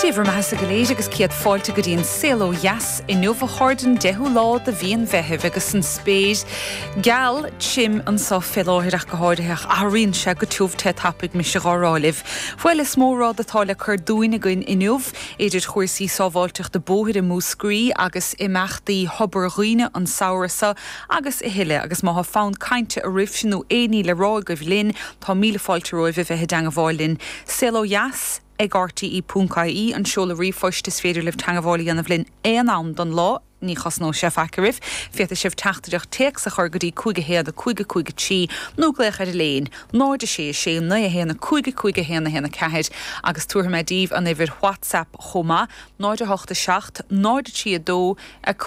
Dé bhur mbeathasa go léir agus céad fáilte go dtí an Saol Ó Dheas inniu a chairde, an 10ú lá de mhí an Mheithimh agus an spéir geal tirim anso fé láthair ach go háirithe ach athraíonn sé go tiubh te tapaidh mise dhá rá libh. Bhuel is mó rud atá le cur dúinn againn inniu idir chúrsaí sábháilteachta bóthair i Múscraí agus imeachtaí Thobar Dhuibhne an samhradh seo agus a thuilleadh agus má thá fonn cainte oraibhse nó aon ní le rá agaibh linn tá míle fáilte romhaibh a bheith i dteangabháil linn. Saol Ó Dheas ag rte.ie an seoladh ríomhphoist is féidir libh teangabháil a dhéanamh linn aon am don lá, ní chosnóidh sé faic oraibh. Féadfaidh sibh teachtaireacht téacs a chur go dtí 5 1 5 5 3 nó glaoch ar an léin 0 6 6 9 1 5 5 1 1 4 agus tabharfaidh mé daoibh an uimhir WhatsApp chomh maith, 0 8 7 0 3 2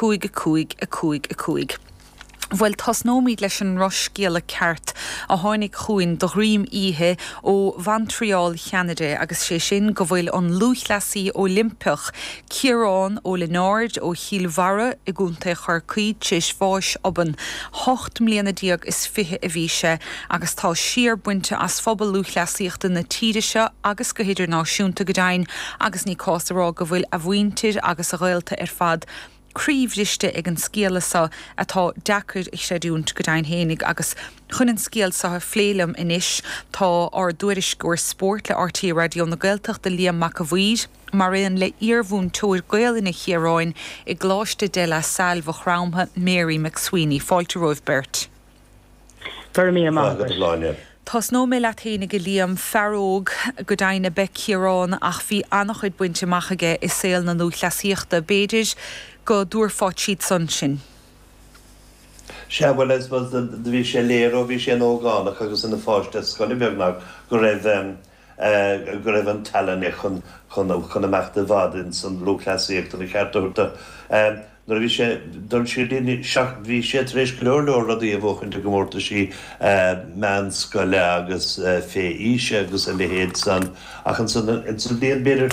5 5 5 5. Bhuel, tosnóimid leis an ndrochscéala ceart a tháinig chugainn de dhroim oíche ó Mhontreal Cheanada agus sé sin go bhfuil an lúthchleasaí Oilimpeach Ciarán Ó Lionáird ó Chill Bharra i gContae Chorcaí tar éis bháis obann. 18 mbliana is 20 a bhí sé agus tá siar bainte as phobal lúthchleasaíochta na tíre seo agus go hidirnáisiúnta go deimhin agus ní cás a rá go bhfuil a mhuintir agus a ghaolta ar fad croíbhriste ag an scéala seo atá deacair a chreidiúint go deimhin fhéinig agus chun an scéal seo a phlé liom anois tá ár dtuairisceoir spóirt le RTÉ Raidió na Gaeltachta Liam Mac a' Mhaoir mar aon le iarmhúinteoir Gaolainne Chiaráin i gColáiste De La Salle Mhaigh Chromtha Mary McSweeney. Fáilte romhaibh beirt. Go raibh míle maith agat. Tosnóidh mé leat fhéinig a Liam, fear óg go deimhin ab ea Ciarán ach bhí an-chuid bainte amach aige i saol na lúthchleasaíochta. B'fhéidir go dtabharfá tríd san sinn. Sea, bhuel, I suppose do bhí sé léir ó bhí sé ina ógánach agus ina pháiste scoile beagnach go raibh go raibh an tallann aige chun chun chun imeacht i bhfad ins an lúthchleasaíocht an ceart a thabhairt dó. Nuair a bhí sé dul siar linn bhí sé tar éis go leor leor rudaí a bhuachaint i gcomórtaisí meánscoile agus fé aoise agus a leithéid san ach ansan ins an bhliain b'fhéidir.